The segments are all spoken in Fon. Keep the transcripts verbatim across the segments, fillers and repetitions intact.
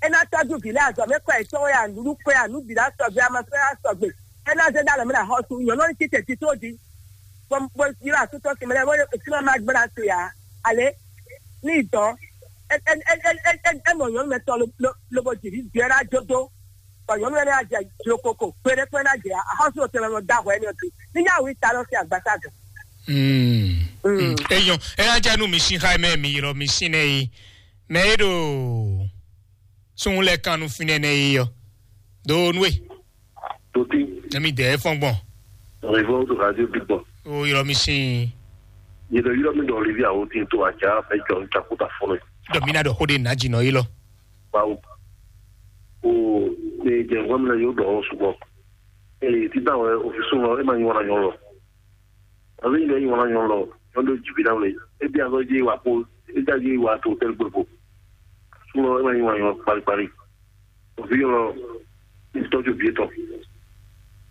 É ná tɔ́jú vǐ lɛ́ɛ azɔ̌ mɛ kɔ yětɔn wɛ a, nǔɖuɖu kɔ yě a, nǔ bǐ ná sɔgbe, amɔsɔ́ ná sɔgbe. É ná zé ɖó alɔ mɛ ná xɔ sú nyɔ̌nu ɔ́ ní títɛ tító jí. Bɔ bɔ yílɔ asútɔ sin mɛ lɛ́ɛ bó sínú ɔ́ má gbéra se ǎ. Ale ní dɔn é é é é é é é mɔ nyɔ̌nu mɛ tɔn lo lo lobo jǐ vǐ ɔ́ ná jó dó. Bɔ nyɔ̌nu ɛnɛ ná jɛ jlokoko kpeɖé kpé ná jɛ axɔ́sú ɔ́ tɛnmɛ nɔ dó ahwɛ énɛ́ ɔ́ jí. Ní nyá wǐ ta lɔ sín agbasa gɔ̌. Mm. Mm. Eyɔn, eya jɛ nu mi sin xa mɛ mi yrɔ mi sin nɛ yi. Mɛ e ɖo sun lɛ kan nu finɛ nɛ yi yɔ. Do nu e. Toti, Nɛ mi dɛ fɔn gbɔn. Revo to radio big boy. O yrɔ mi sin. Ye ɖo yɔrɔ mi ɖɔ Olivia o tin to aja fɛ jɔ n takuta fɔlɔ. Dɔ mi na ɖɔ xo de na dzi nɔ yi lɔ. Bawo. O ne jɛ ŋgɔ mi le yo ɖɔ o sugbɔ. Ee, tita wɛ ofisu lɔ e ma nyi wana nyɔ lɔ. Ɔlɔ yi lɛ yi wana nyɔ lɔ, nyɔ ɖo jibi na wle. E bi azɔ ji wa ko, e da ji wa to tɛl gbogbo. Su lɔ e ma nyi wana nyɔ kpali kpali. Ofi lɔ, ni tɔju bi etɔn.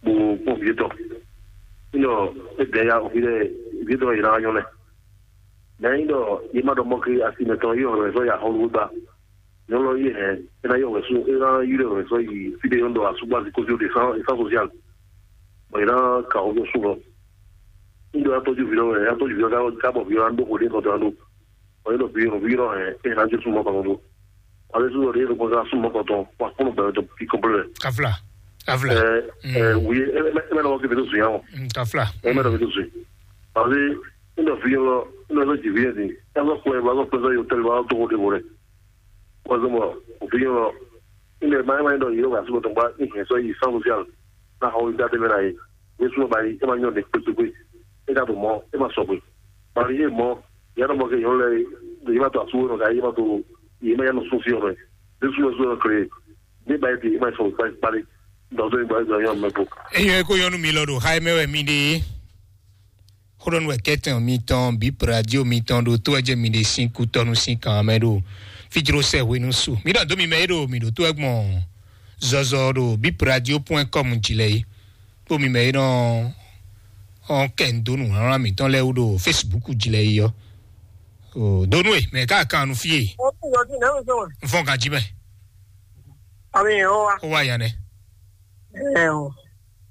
Bo kpɔn bi etɔn. Nɔ e bɛ ya ofi lɛ, bi etɔn yi na nyɔ lɛ. Mɛ yi ɖɔ ye ma ɖɔ mɔ ke asi mɛtɔn yi ɔlɔ zɔ ya xɔlu gba. Nyɔnu ɔ́ yi hɛn, é ná yɔ wɛ̌ sú, é ná yi ɖɔ wɛ̌ sɔ́ yi fí ɖé nyɔ́nu ɖɔ asúgbó azikójú ɖe sán sán sosial. Bɔ yě ná ka xó sú lɔ. Ŋɖɔ atɔ́jú vǐ lɔ wɛ, atɔ́jú vǐ lɔ ká bɔ vǐ lɔ ná ɖó xó ɖé kɔtɔn ná ɖó. Bɔ yě ɖɔ vǐ lɔ vǐ lɔ hɛn, é ná jó sú mɔ kɔtɔn ɖó. Wálé sú lɔ ɖé ló kɔn ká sú mɔ kɔtɔn, wà kpɔ́n gbɛ tɔ fi kɔnplɛ. Kafla. Kafla. Ɛ ɛ wòye, ɛ mɛ ɛ mɛ lɔwɔ kébé tó zun yà wɔ. Mm, kafla. Ɛ mɛ lɔwɔ kébé tó zun. Wálé ŋɖɔ vǐ lɔ, ŋɖɔ sɔ jì vǐ lɔ din. Ɛ sɔ kplɛ, wà sɔ kplɛ sɔ yɔ tɛlɛ, wà sɔ tó xó ɖé bɔ rɛ. Wazɔmɔ, òfin ɔ́, ilẹ̀ máyámáyá ɖɔ yìí wà síbò tó ń gbá ìhìn sɔ yìí sáfù sí àlù náà xɔ wíwá dé mẹ́ra yìí. Yéṣu ọba yìí, ẹ máa yàn ní kpékpékpé. Ẹ ká tó mọ́, ẹ máa sọ pé. Bàbá yìí mọ́, ìyá náà mọ́ kẹ́ yọ̀ lẹ́ yìí má tó àsúwò náà ká yìí má tó yìí má yà nù sún sí ọ̀rọ̀ yìí. Yéṣu ọ̀rọ̀ sọ̀rọ̀ kéré. Ní báyìí ti, ẹ máa sọ pé parí. Dọ̀tún ìgbà ìgbà yọ̀ mẹ́bù. Eyɔn eko yɔnu mi lɔ ɖo xá mɛ wɛ mi ɖe. Xóɖɔnu wɛ kɛtɛn mitɔn, bip radio mitɔn ɖo tó ɛjɛ mi ɖe sín kútɔnu sín kan mɛ ɖo fijro sɛ hwenu su. Mi ɖɔ dó mi mɛ e ɖo mi ɖo tó ɛgbɔn zɔzɔ ɖo bip radio point com jí lɛ yi. Kpó mi mɛ e nɔ ɔn kɛ ndo nǔ wlán mitɔn lɛ wú ɖo Facebook jí lɛ yi yɔ. O donu e mɛ ká kan nu fie. Ó ti yọjú náà ń sọ̀rọ̀. N fɔn kan jí mɛ. Àmì ẹ̀ ọ́ wa. Ó wá yan nɛ. Ẹ̀ ọ́.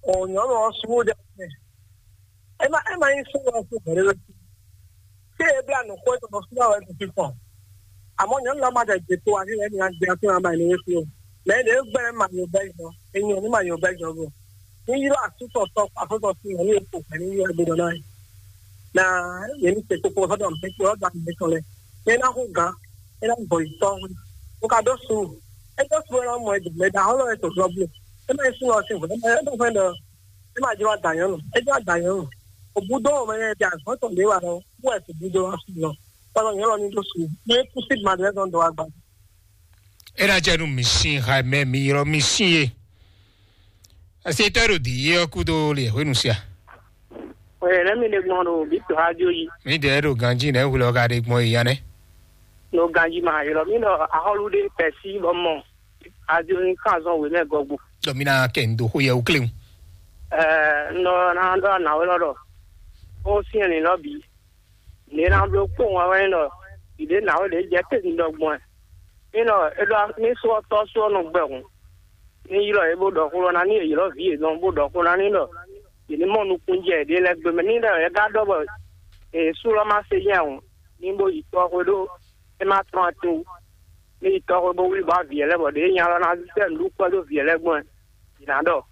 Ọ̀ nyɔ̌nu ọ̀ sún ó dẹ́. Ema ema nyi sɔ́ wɛ fún hwɛɖéwé. Tí e blá nǔ xó tɔn fún wɛ fífɔn. Àmọ́ nyɔ̌nu lɔ ma ɖe gbe to wá sí ɛni agbé afún ama ní wéfí o. Mɛ ɖě gbɛ́ ma yɔ bɛ́ jɔ. Enyɔ ní ma yɔ bɛ́ jɔ bɔ. Ní ylɔ́ asútɔ tɔ afútɔ sí nyɔ̌nu e kpo hwɛ ní ylɔ́ ebe ɖɔ náà. Na yě ní se kpokpo sɔ́dọ̀ mɛ kpo ɔ́ da mɛ tɔn lɛ. Ní é ná hú gǎn, é ná gbɔ yi tɔ́. Mo ka ɖó su. É ɖó su é ná mɔ ɛ dɔ̌ mɛ ɖaxó lɔ wɛ to zɔ bló. É má nyí sú lɔ sín hwɛ. É má nyí é má hwɛ ɖɔ É ma jló ada nyɔ̌nu, é jló ada nyɔ̌nu. Òbúdó ɔ́ mɛ nyɛ di azɔ̌ tɔn ɖě wa lɔ, wú wɛ sibúdó wá fún lɔ. Kpɔ́nɔ nyɔ̌nu ní ɖó su, ní é kú sí madrɛ́ tɔn dɔ̌ wá gba. É ná jɛ nú mi sín ha mɛ mi ylɔ́ mi sín e. Asi tɔ́ ɖo dǐ yé ɔ́ kúdó le hwenu sia. Ɔyɛ lɛ mi ɖe gbɔn ɖo bǐ to ha jó yi. Mi ɖe ɖo ganjí nɛ hwlɔ ka ɖe gbɔn yi ya nɛ. No ganjí ma ylɔ́ mi ɖɔ axɔ́lú ɖé pɛ̌sí bɔ mɔ. Adio ní kàn zɔn wěmɛ gɔgbo. Dɔ mi na kɛ ndo xó yɛ wú kléwu. Ɛɛ, nɔ na ɖɔ na wɛ lɔ ɖɔ. Ó siɛn ní lɔ bǐ. Ní na bló kpó ŋwa wɛ ní ɖɔ. Ìɖé na wɛ ɖě jɛ tɛ́ ní ɖɔ gbɔn ɛ. Ní ɖɔ é ɖɔ ní sɔ tɔ́ sɔ nɔ gbɛ hǔn. Ní ylɔ́ yě bó ɖɔ xó lɔ ná ní ylɔ́ vǐ yětɔn bó ɖɔ xó ná ní ɖɔ. Yě ní mɔ nukún jɛ ɖě lɛ́ɛ gbé mɛ ní ɖɔ yɛ gá ɖɔ bɔ. Èsú lɔ má se nyɛ hǔn. Ní bó yi tɔ́ xwé ɖó. É má tɔ́n atin wú. Ní yi tɔ́ xwé bó wlí bɔ vǐ lɛ́ɛ bɔ ɖě nya lɔ ná sɛ́ nǔɖuɖu kpɛ́ dó vǐ lɛ́ɛ gbɔn ɛ. Yě ná ɖɔ.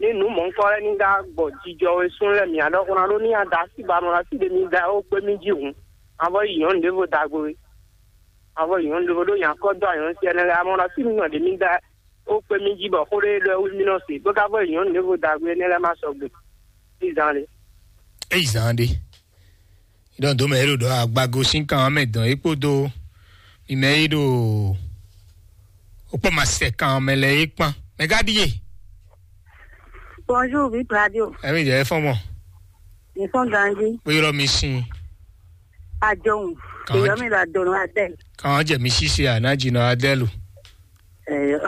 Ní nǔ mɔ̌hunkɔ lɛ́ɛ ní ká gbɔ jijɔ wɛ sún lɛ́ɛ mǐ ná ɖɔ xó ná ɖó ní ada así ba nɔ así ɖé mi da ó kpé mì jí hǔn. Avɔ yi nyɔ̌nu ɖěvo da gbe. Avɔ yi nyɔ̌nu ɖěvo ɖó nya kɔ dó anyɔ̌nu sí ɛnɛ lɛ́ɛ amɔ ɖɔ así mi nɔ ɖě mi da ó kpé mì jí bɔ xó ɖé ɖɔ wí mì nɔ se bó ká vɔ yi nyɔ̌nu ɖěvo da gbe énɛ́ lɛ́ɛ má sɔgbe. Ní zan lé. Eyi zan ɖe. Ɖɔ dǒ mɛ e ɖo ɖɔ agbago sín kan mɛ dɔn é kpódó mi mɛ e ɖo wokpɔ ma sɛ kan mɛ lɛ é kpán. Mɛ gá ɖíe. Bonjour, Bip Radio. Ɛmi jɛ fɔn mɔ. Ils sont grandis. Kpé ylɔ mi sin. Adjohun. Kan Èyí jẹ- mi la dɔnɔ Adèle. Kan jẹ mi sisi a na jinɔ Adèle. Ɛyɔ.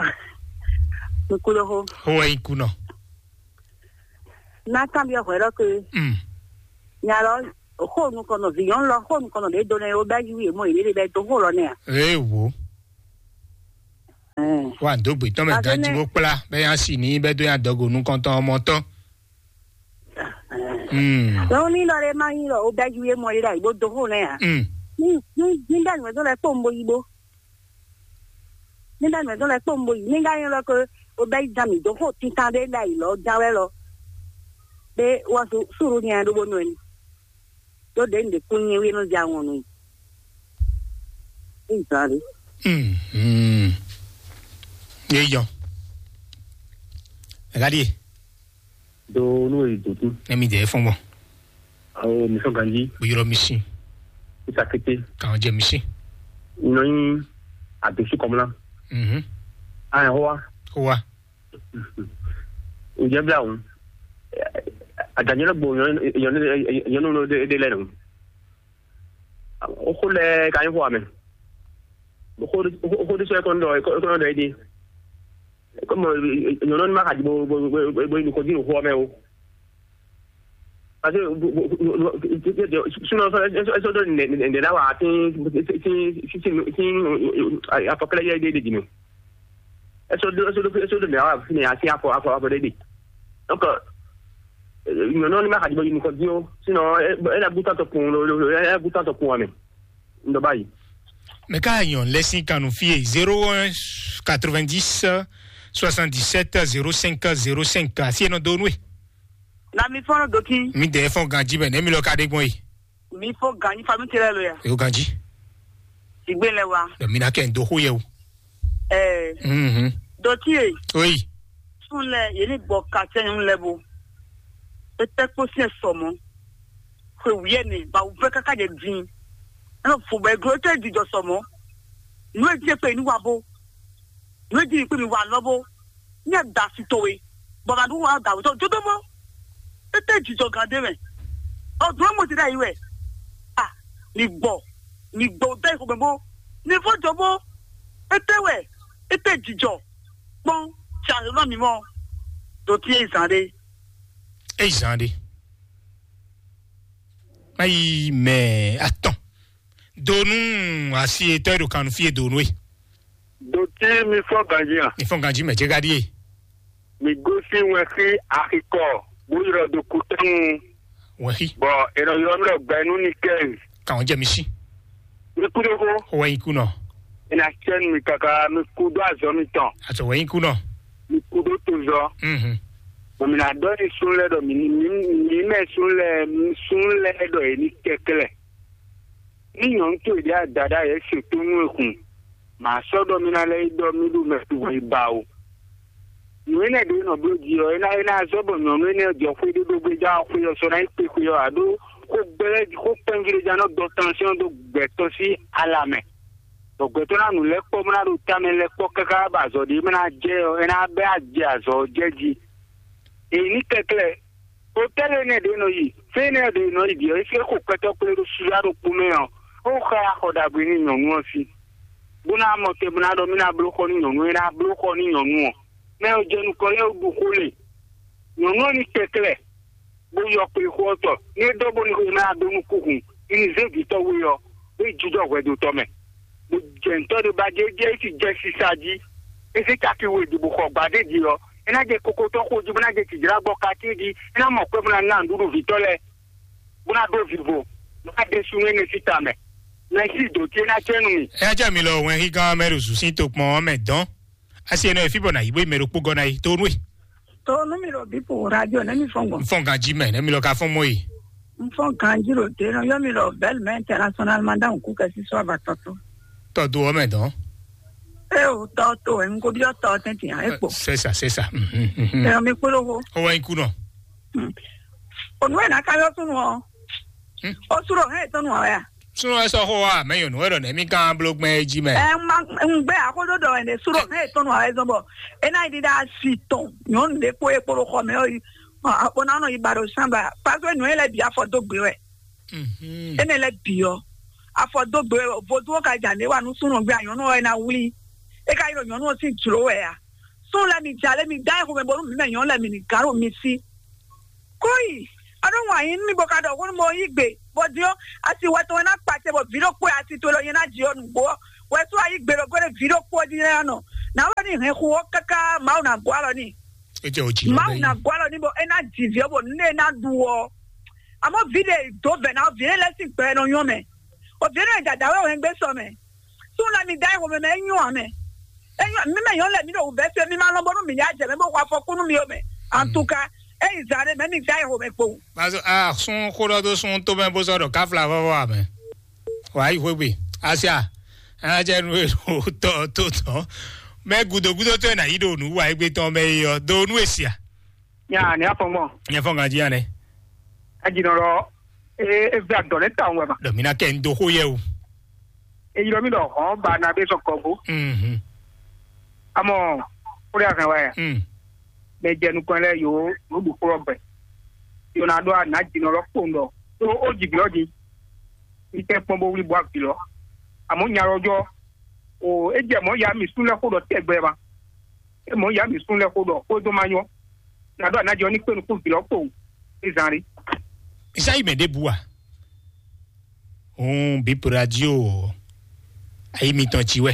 Nkúlóhó. Hó wɛ ikunɔ. Ná kan bí ọ̀hún ẹ̀rọ pé. Mm. Nyalɔ, xó nukɔnɔ, vǐyɔn lɔ, xó nukɔnɔ ɖě do nɛ o bɛ yí wí èmɔ ìdílé bɛ tó xó lɔ nɛ à. Ee wo. Wá dó gbětɔ́ mɛ Azɔ́ ganjí nɛ́. Bó kplá bɛ́ yá si ní bɛ́ dó yá dɔgo nukɔntɔn ɔmɔ tɔn. Hmm. Lɔn ní lɔ ɖe má nyí lɔ o bɛ ju ye mɔ yi ɖe ayi bó do xo nɛ ya. Hmm. Ní ní ní bɛ nùmɛ tó lɛ kpó nbó yi bó. Ní bɛ nùmɛ tó lɛ kpó nbó yi. Ní ká nyí lɔ ko o bɛ yi jan mi do xo tintan ɖe ɖe ayi lɔ jan wɛ lɔ. Be wa su suru nyɛ ɖo bó nɔ ni. Ɖó ɖě un ɖe kún nyɛ wí nɔ zé awɔn nú i. Ezǎn ɖé. Hmm, hmm. Yé yɔ. Ɛ̀ka ɖíe. Do nú èyí dòtú. Ɛmi dẹ̀ fɔn bɔ. Awo mi sɔn ganji. Bó yọrọ mi sí. Ìsàkété. Kàn jẹ mi sí. Nɔnyi àdósù kɔmla. Mhm. Ayɛ hó wa. Hó wa. Ǹjẹ́ bí àwọn àdànyẹ́lẹ́ gbòòrò yẹn ló dé lẹ́nu? Ó kó lẹ ka nyí fún wa mɛ. Ó kó dé sọ ẹ̀kọ́ ńdọ̀ ẹ̀kọ́ ńdọ̀ yìí dé. Kọ́mọ nyɔ̌nɔ ní má ka di bó bó bó bó nukɔn dín nǔxó ɔ́ mɛ o. Parce que sinon ɛsɔ dɔ ǹdɛ ǹdɛ ná wà sí sí sí sí afɔkɛlɛ yɛ ɖe ɖe dì mɛ. Ɛsɔ dɔ ɛsɔ dɔ ɛsɔ dɔ mɛ wà sí ní asi afɔ afɔ afɔ ɖe ɖe. Donc nyɔ̌nɔ ní má ka di bó nukɔn dín o. Sinon ɛ ɛ ná bú tán tɔ kun lo lo ɛ ná bú tán tɔ kun wa mɛ. Ŋdɔ báyìí. Mɛ ká yàn lẹ́sìn kanu fíye zéro un quatre-vingt-dix soixante-dix-sept zéro cinq zéro cinq asi eno donu e. Na mi fɔlɔ doki. Mi dɛ fɔn ganji mɛ ne mi lɔ ka de gbɔn yi. Mi fɔ ganji fami tɛlɛ lo ya. Yo ganji. Sigbe lɛ wa. Dɔ mi na kɛ n do xo yɛ o. Ɛɛ. Mhm. Dɔti ye. Oyi. Sun lɛ ye ni gbɔ katsɛ nyɔnu lɛ bo. Etɛ kpo siɛ sɔmɔ. Xwe wiɛ ne ba wufɛ kaka jɛ din. Ɛnɔ fo bɛ glo etɛ di jɔ sɔmɔ. Nu e di ekpe ni wa bo. Nu e di ekpe mi wa lɔ bo. Nyɛ da si towe. Bɔ ma ɖu wa da wutɔ dodo mɔ. Etɛ jijɔ gan de mɛ. Ɔ dun mo ti da yi wɛ. A mi gbɔ mi gbɔ da yi xo mɛ bo. Mi fɔ jɔ bo. Etɛ wɛ etɛ jijɔ. Kpɔn tsi azɔnɔ mi mɔ. Ɖo ti e zan ɖe. Eyi zan ɖe. Mayi mɛ atɔn. Donu asi etɔ e ɖo kanu fie donu e. Doti mi fɔ ganji a? Mi fɔ ganji mɛ jɛ gadi e. Mi gosi wɛnxi axikɔ bó ylɔ do kutɔnu. Wɛnxi. Bɔn e nɔ ylɔ mi ɖɔ gbɛnu ni kɛz. Kàn jẹ mi si. Mi kú ɖo xó. Xó wɛ nyi kú nɔ. E na cɛ nu mi kaka mi kú ɖo azɔ mi tɔn. Azɔ wɛ nyi kú nɔ. Mi kú ɖo to zɔ. Mhm. Bɔn mi na dɔ ni sun lɛ ɖɔ mi ni mi mi mɛ sun lɛ sun lɛ ɖɔ e ni kɛklɛ. Ní nyɔ̌nu towe ɖě adaɖá yě se tó nú we hun, mǎ sɔ́ ɖɔ mì ná lɛ́ yi ɖɔ mì ɖo mɛ towe ba o. Nǔ énɛ́ ɖě nɔ bló jí ɔ́, é ná é ná zɔ́ bɔ nyɔ̌nu énɛ́ jɔ xwé ɖé ɖó gbéjá ɔ́, xwé ɔ́ sɔ́ ná yi kpé xwé ɔ́, ǎ ɖó xó gbɛ́ xó kpɛ́nví ɖé ján nɔ́ dɔ tánsyɔ́n dó gbɛ̌tɔ́ sín ala mɛ. Bɔ gbɛ̌tɔ́ ná nǔ lɛ́ kpɔ́ bó ná ɖo tamɛ lɛ́ kpɔ́ káká bɔ azɔ̌ ɖé bó ná jɛ ɔ́, é ná bɛ́ ajɛ azɔ̌ ɔ́ jɛ jí. Èyí ní kɛklɛ́. Hotɛ́li énɛ́ ɖě nɔ yi, fí énɛ́ ɖě nɔ yi ɖi ɔ́, é fí é xo kpɛtɔ́ kplé ɖó suɖá ɖokpó mɛ ɔ́, é xo xá yi axɔ ɖagbe nú nyɔ̌nu ɔ́ sí, bó ná mɔ te bó ná ɖɔ mì ná bló xɔ nú nyɔ̌nu e ná bló xɔ nú nyɔ̌nu ɔ́. Mɛ ɔ́ jɛ nukɔn lɛ́ɛ wú ɖu xó lě. Nyɔ̌nu ɔ́ ní kɛklɛ́, bó yɔ kplé xó ɔ́ tɔ, ní é dɔ́ bónú xwe ná dó nú kúhun, ní ní zé vǐ tɔ́ we ɔ́, bó yi jínjɔ́n hwɛdotɔ́ mɛ. Bó jɛ ntɔ́ ɖé ba jɛ jɛ é sì jɛ sisa jí. É sí caki we ɖi bó xɔ gbadé jí ɔ́, é ná jɛ kokotɔ́ xo jí bó ná jɛ tǐjlá gbɔ katín jí, é ná mɔ kpɛ́ bó ná ná nǔɖuɖu vǐtɔ́ lɛ́ɛ, bó ná ɖó vivo, bó ná ɖe súnnu énɛ́ síta mɛ. Mɛ sí dǒ ce ná cɛ́ nú mì. Ɛ jẹ́ mi lɔ wɛn hígán mɛ ɖo zǔsín tokpɔn ɔ́ mɛ dɔn. Asi ɛnɛ fí bɔ na yi bó yi mɛ ɖokpó gɔ́ ná yi tó nú e. To nú mi ɖo bípo radio ne mi fɔn gbɔn. N fɔn ganji mɛ ne mi lɔ ka fɔn mɔ yi. N fɔn ganji ɖo te nɔ yɔ mi ɖɔ bɛl mɛ international ma da nkú kɛ sísɔ ava tɔtɔ. Tɔdo ɔmɛ dɔn. E o tɔ to ɛ nko biɔ tɔ tɛntin a e kpo. C'est ça, c'est ça. Mhm, mhm. Ɛ mi kpolo ko. O wa iku nɔ. Hmm. O nu ɛ na ka yɔ sunu ɔ. Hmm. O suro hɛ tɔnu ɔ ya. Sunu ɛ sɔ xo wa mɛ yɔnu ɛ ɖɔ ne mi kan blo gbɛn e ji mɛ. Ɛ ma n gbɛ akodo dɔ ɛ ne suro hɛ tɔnu ɔ ɛ zɔn bɔ e na yi di da si tɔn nyɔnu de kpo e kpolo xɔ mɛ ɔ yi. Ɔ, a kpɔna nɔ yi ba ɖo sanba. Parce que nɔ ye lɛ bi afɔ do gbe wɛ. Mhm. Ene lɛ bi ɔ, afɔ do gbe wɛ. Voduwo ka ja ne wa nu sunɔ gbe anyɔnu ɔ na wuli. E ka yi ɖo nyɔnu ɔ si jlo wɛ a. Sun lɛ mi ja lɛ mi da exo mɛ bɔ nu mi mɛ nyɔnu lɛ mi ni gan ɖo mi si. Koi, a ɖo ŋun ayi nú mi bɔ ka ɖɔ hunu mo yi gbe bɔ di ɔ, asi wɛ tɔn wɛ na kpa te bɔ vi ɖo kpo asi to lɔ nyɛ na di ɔ nugbo ɔ. Wɛ so ayi gbe ɖo gbe ɖe vi ɖo kpo ɔ di nyɛ na nɔ. Nǎ wɛ ní hɛn xu ɔ́ káká Mawu ná gɔ́ alɔ n'i. É jɛ o jǐ lɔ Mawu bɛ́ ná yí. Gɔ́ alɔ n'i bɔ é ná ji vǐ ɔ́ bɔ nǔ e é ná ɖu ɔ́. Àmọ́ vǐ ɖe dó vɛ̌ ná vǐ énɛ́ lɛ́ɛ sín gbɛ nɔ nyɔ́ mɛ. Bɔ vǐ énɛ́ e dada wɛ hɛn gbé sɔ mɛ. Súnnu mi dá ihomɛ mɛ é nyɔ́ ǎ mɛ. É nyɔ́ mi mɛ nyɔ́ lɛ mi ɖo wǔvɛ́ fí mi ma lɔn bónú mǐ ní ajɛ mɛ bó xɔ afɔkúnú mi ó mɛ. Antuka, é yi zǎn ɖé mɛ mi dá ihomɛ kpowun. Mazu a sún xóɖɔ dó sún tó mɛ bó sɔ́ ɖɔ káfla vɔvɔ amɛ. Wà á yi xwégbe. Asia, a jɛ nu e ɖo tɔ tó tɔ. Mɛ gudo gudo tó e na yi ɖo nu wa egbe tɔn mɛ yi ɔ do nu e sia. Nya ni afɔngbɔn. Nyɛ fɔ ŋa jí anɛ. Ajinɔ lɔ e e vɛ adɔ lɛ ta wɛ ma. Dɔ mi na kɛ n do xó yɛ o. Eyi lɔ mi ɖɔ hɔn ba na be sɔ kɔgo. Mhm. Amɔ kúrẹ́ ahɛn wa ya. Mm. Mɛ jɛ nukɔn lɛ yo nu ɖu kplɔ gbɛ. Yo na ɖɔ ana jinɔ lɔ kpowun ɖɔ. To o ji bi lɔ di. Mi tɛ kpɔn bo wuli bɔ abi lɔ. Amɔ nya lɔ jɔ. O e jɛ mɔ ya mi sun lɛ xo ɖɔ tɛgbɛ ma. E mɔ ya mi sun lɛ xo ɖɔ xo do ma nyɔ. Na ɖɔ ana jɔ ni kpe nukun bi lɔ kpowun. Ezan ri. Isayi mɛ ɖe bu a? Hun bip radio. Ayi mitɔn ci wɛ.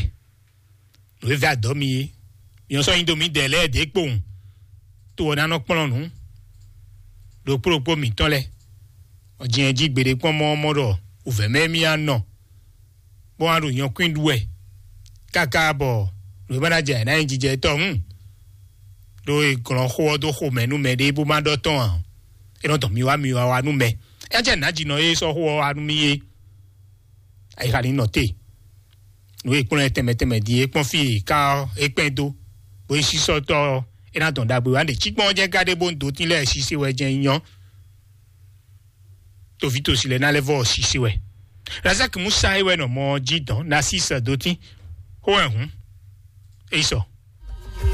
Nǔ e vɛ adɔ mi é. Nyɔ sɔ́ nyi dó mǐdɛɛ lɛ́ɛ ɖě kpowun. Tó ɔ́ ná nɔ kplɔ́n nǔ. Ɖokpó ɖokpó mǐtɔn lɛ́ɛ. Ɔ jɛ́n jí gbeɖé kpɔ́n mɔ́ mɔ́ ɖɔ wǔvɛ́ mɛ mì á nɔ. Bó wá ɖo nyɔkwín ɖu wɛ. Káká bɔ nǔ e má ná jɛ ná nyí jijɛ tɔn hǔn. Ɖó e glɔn xó ɔ́ dó xo mɛ nú mɛ ɖé bó má ɖɔ tɔn ǎ. É nɔ dɔn mi wá mi wá wá nú mɛ. É jẹ́ nǎ jǐnɔ e sɔ́ xó ɔ́ wá nú mì é. Ayixa ní nɔ te. Nǔ e kplɔ́n ɛ tɛnmɛ tɛnmɛ din é kpɔ́n fí e ká ɔ́ é kpɛn dó, bó yi sísɔ́tɔ́ ɔ́, é ná dɔn ɖagbe wá ɖe cikpɔ́n ɔ́ jɛ́n ka ɖé bó ń dó tín lɛ́ɛ sise wɛ jɛ́n nyɔ́. Toví tosi lɛ́ɛ ná lɛ́ vɔ sise wɛ. Razak Musa é wɛ nɔ mɔ jí dɔn Nasis dó tín. Xó wɛ hǔn. É yi sɔ.